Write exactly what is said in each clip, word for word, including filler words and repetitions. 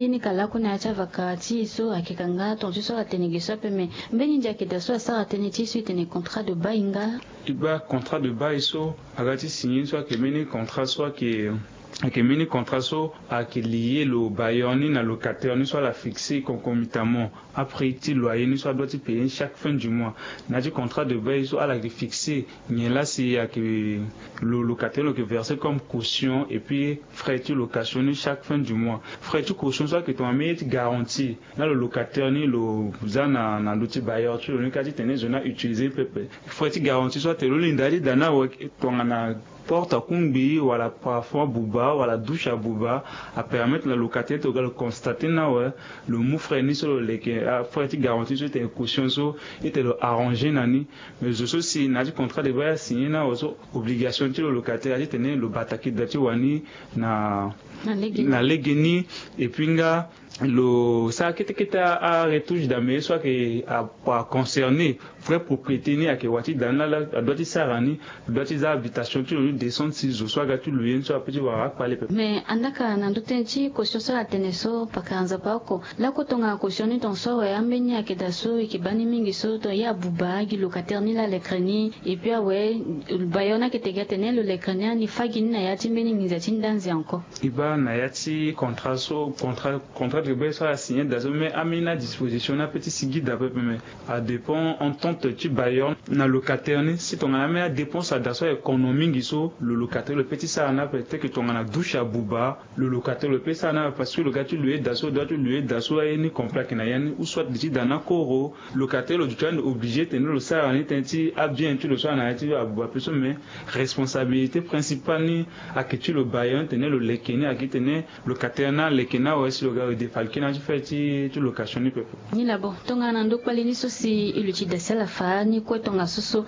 Ye ni ka lakue na ya ti avaka ti e so ayeke ka nga tonga ti so ala tene ge so ape, me mbeni ndia ayeke daa so asara tënë ti e so e tene contrat de bail nga? E baa contrat de bail so aga ti signer so ayeke mbeni contrat so ayeke ayeke mbeni contrat so ayeke lier lo bailleur ni na locataire ni so ala fixer concomitamment après ti loyer ni so adoit ti payer ni chaque fin du mois. Na ya ti contrat de bail so ala yeke fixer nyen laa si ayeke lo locataire lo yeke verser comme caution et puis frais ti location ni chaque fin du mois. Frais ti caution so ayeke tongana mbeni ye ti garantie na lo locataire ni lo za na na ndö ti bailleur ti lo ni kâ ti tene zo ni a utiliser pepe. Frais ti garantie so atene lo linda ti daa ni awe tongana porte akungbi wala plafond abuba wala douche abuba, apermettre na locataire ti lo ga lo constater ni awe lo mu frais ni so lo leke, frais ti garantie so e tene caution so e tene lo arranger na ni. Mais zo so si na ya ti contrat de bail asigner ni awe so, obligation ti lo locataire aye ti tene lo bataki daa ti wani na na lege ni. Et puis nga lo sara kete kete aretouche damee so ayeke aconcerner vrai propriété ni ayeke wa ti daa ni laa adoit ti sara ni. Adoit ti za habitation ti lo ni descente si zo so aga ti loyer ni so ape ti wara akpale pepe. Mais andaa ka na ndö tënë ti caution so ala tene so pakara nzapa oko lakue tongana caution ni tonga so awe ambeni ayeke daa so e yeke baa ni mingi so tongana ye abuba gi locataire ni laa lekere ni. Et puis awe bailleur ni ayeke tene gi atene lo lekere ni ani fâ gi ni na ya ti mbeni nginza ti ndanzi encore. E baa na ya ti contrat so contrat contrat de bail so asigner daa so me ambeni adisposition ni ape ti sigi daa pepe me adépend entente ti bailleur na locataire ni si tongana ambeni adépense adaa so ayeke kono mingi so lo locataire lo pe ti sara ni ape te ke tongana douche abuba lo locataire lo pe sara ni ape parce que lo ga ti loyer daa so doit ti loyer daa so aye ni complet ayeke na ya ni ou soit li ti daa ni akoro. Locataire lo duti ande obligé tene lo sara ni tënë ti abien ti lo so ana ya ti abuba pe so me responsabilité principale ni ayeke ti lo bailleur ni tene lo leke ni ayeke ti tene locataire ni aleke ni awe si lo ga lo défalquer ni ti frais ti ti location ni pepe. Ni laa bon tongana na ndö kpali ni so si e luti daa si ala fa ni kue tongaso so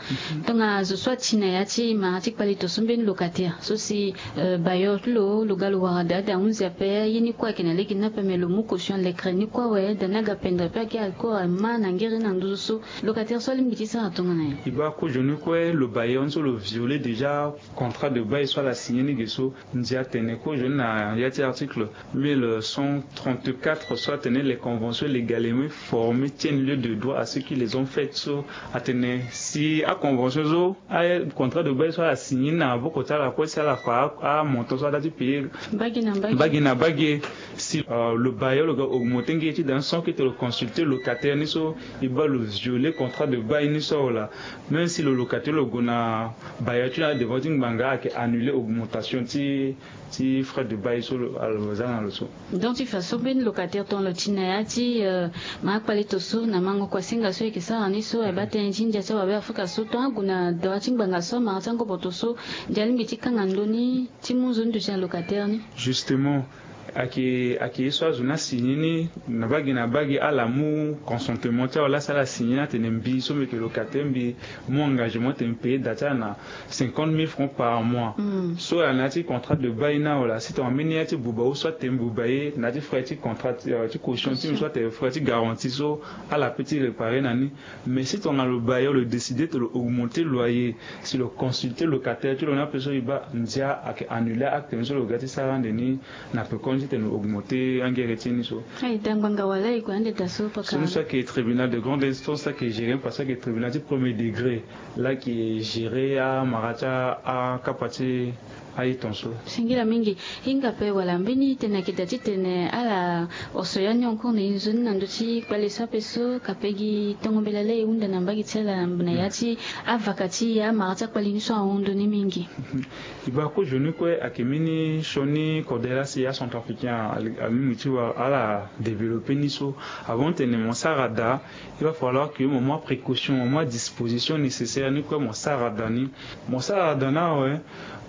tongana zo so ati na ya ti mara ti kpali to so mbeni locataire so si bailleur ti lo lo ga lo wara daa daa ahunzi ape ye ni kue ayeke na lege ni ape me lo mu caution lekere ni kue awe daa ni aga pendere pe ayeke akoro ama na ngere ni na nduzu so locataire so alingbi ti sara tongana nyen? E baa kozo ni kue lo bailleur ni so lo violer déjà contrat de bail so ala signer ni ge so. Ndia atene kozo ni na ya ti article mille cent trente-quatre so atene les conventions légalement formées tiennent lieu de droit à ce qui les ont faites so atene si aconvention so acontra de bail so ala signer ni na maboko ti ala kue si ala fa amontant so ada ti payer mbage na mbage si lo bailleur lo ga augmenter nge ti daa ni sans que ti lo consulter locataire ni so e baa lo violer contrat de bail ni so awe laa. Même si lo locataire lo gue na bailleur ti lo na devant ti ngbanga ayeke annuler augmentation ti ti frais de bail so lo za na lo so. Donc ti fa so mbeni locataire tongana lo ti na ya ti ma akpale to so na mango kuasinga so e yeke sara ni so aye baa tënë ti ndia ti awabe afrika so tongana ague na devant ti ngbanga so amara ti angoboto so ndia alingbi ti kanga ndö ni ti mu nzoni duti na locataire ni. Justement ayeke ayeke ye so azo ni asigner ni na bage na bage ala mu consentement ti awe laa si ala signer ni atene mbi so mbi yeke locataire mbi mu engagement ti tene mbi payer daa ti ala na cinquante mille francs par mois. So ala na ya ti contrat de bail ni awe laa si tongana mbeni ya ti buba ou soit tene mbi buba ye na ya ti frais ti contrat ti caution ti mbi soit tene frais ti garantie so ala pe ti réparer na ni. Mais si tongana lo bailleur lo décider ti lo augmenter loyer si lo consulter locataire ti lo ni ape so e baa ndia ayeke annuler acte ni so lo ga ti sara ande ni. Na pekoni ti tene lo augmenter angere ti ni so. Aye daa ngbanga wala e gue ande daa so paka so ni so ayeke tribunal de grande instance so ayeke gérer parce que ayeke tribunal ti premier degré laa ayeke gérer amara ti akapa ti aye ton so. Singila mingi. Hinga ape wala mbeni tene ayeke daa titene ala oso ya ni encore na e nzoni na ndö ti kpale so ape so kape gi tongo mbela laa e hunda na mbage ti ala na ya ti avaka ti e amara ti akpale ni so ahon ndö ni mingi. E baa kozo ni kue ayeke mbeni sioni kodela si acentrafricain alingbi ti wara ala développer ni so. Avant ti tene mo sara daa il va falloir que mo mu aprécaution mo mu adisposition nécessaire ni kue mo sara daa ni. Mo sara daa ni awe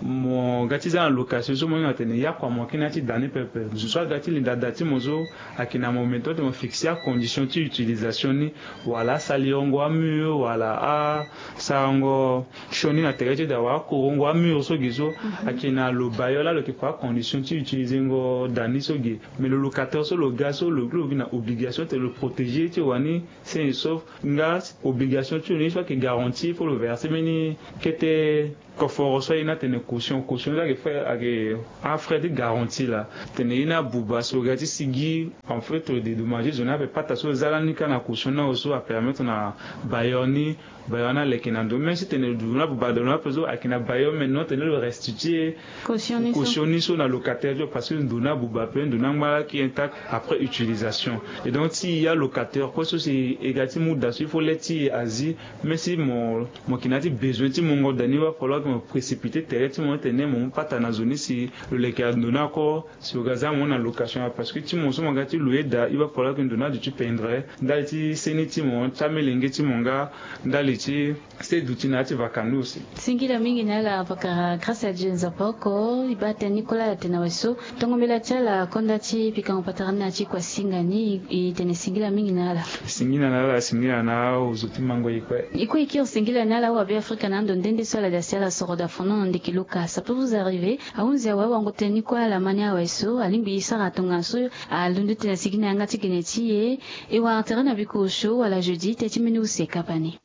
mo ga ti za na location so mo hinga tene yakua mo kina ti daa ni pepe zo so aga ti linda daa ti mo so ayeke na mo meton ti mo fixer acondition ti utilisation ni wala asalirongo amur wala asarango sioni na tere ti daa wala akorongo amur so gi so ayeke na lo bailleur laa lo yeke fa acondition ti utilisengo daa ni so gi. Mais lo locataire so lo ga so lo gi lo gi na obligation ti tene lo protéger ti wani sain et sauf nga obligation ti lo ni so ayeke garantie fo lo verser mbeni kete koforo so aye ni atene caution. Caution ni ayeke frais ayeke afrais ti garantie laa. Tene ye ni abuba so ga ti sigi en fait lo dédommager zo ni ape pata so za lani kâ na caution ni awe so apermettre na bailleur ni bailleur ni aleke na ndo même si tene ndo ni abuba ndo ni ape so ayeke na bailleur maintenant tene lo restituer caution ni so na locataire ti lo parce que ndo ni abuba ape ndo ni angba laki intact après utilisation. Et donc ti ya locataire kue so si e ga ti muda so il faut le ti e azi même si mo mo yeke na ya ti besoin ti mongo da ni il va falloir ke mo précipiter tere ti mo tene mo mu pata na zo ni si lo leke ando ni ako si lo ga za mo na location parce que ti mo so mo ga ti loyer da il va falloir ke ndo ni aduti pendre ndali ti seni ti mo ti amelenge ti mo nga ndali ti se duti na ya ti vaka ni aussi. Singila mingi na ala pakara grâce à Dieu nzapa oko e baa tënë ni kue la ala tene na we so. Tongo mbela ti ala konda ti pikango patara ni na ti kua singa ni e tene singila mingi na ala. Singila na ala singila na aozo ti mango e kue. E kue e kiri singila na ala awabe afrika na ando nde nde so ala da si ala soro da fono na ndeke luka ça peut vous arriver. Ahunzi awe awango tënë ni kue ala ma ni awe so alingbi e sara tongana so alondo tena sigi na yanga ti gene ti e. E wara tere na biko osio wala jeudi te ti mbeni use kapa ni.